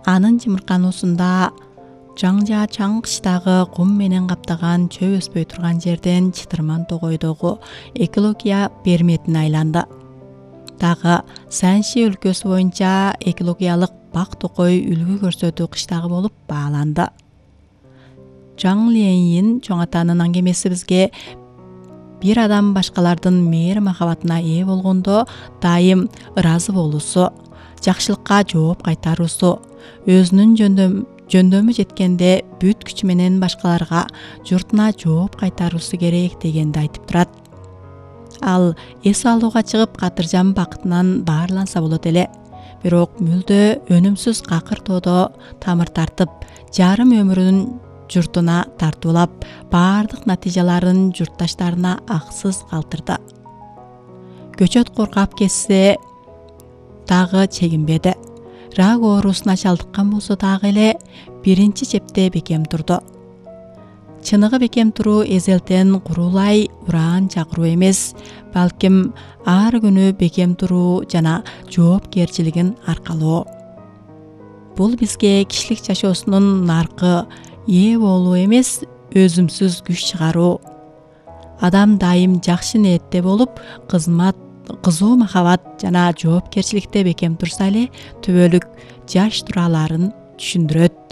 Анын жымыркануусунда жаңжа чаң кыштагы кум менен каптаган чөп өспөй турган жерден чытырман тогойдогу экология берметине айланды. Дагы Санши өлкөсү боюнча экологиялык бак токой үлгү көрсөтүү кыштагы болуп бааланды. Жаң Лейин чоң атанын аңгемеси бизге бир адам башкалардын мээри махабатына ээ болгондо дайым ыраазы болуусу, жакшылыкка жооп кайтаруусу, өзүнүн жөндөмү жеткенде бүт күчү менен башкаларга, журтуна жооп кайтаруусу керек дегенди айтып турат. Ал эс алууга чыгып катыржан бакытынан баарланса болот эле. Бирок мүлдө өнүмсүз какыр тоодо тамыр тартып, жарым өмүрүн журтуна тартуулап, баардык натыйжаларын журтташтарына аксыз калтырды. Көчөт коркап кетсе дагы чегинбеди. Рак оорусуна чалдыккан болсо дагы эле биринчи чепте бекем турду. Чыныгы бекем туруу эзелтен курулай ураан чакыруу эмес, балким ар күнү бекем туруу жана жоопкерчилигин аркалоо. Бул бизге кишилик жашоосунун наркы ээ болуу эмес, өзүмсүз күч чыгаруу. Адам дайым жакшы ниетте болуп, кызуу махабат жана жоопкерчиликте бекем турса эле түбөлүк жаш тура аларын түшүндүрөт.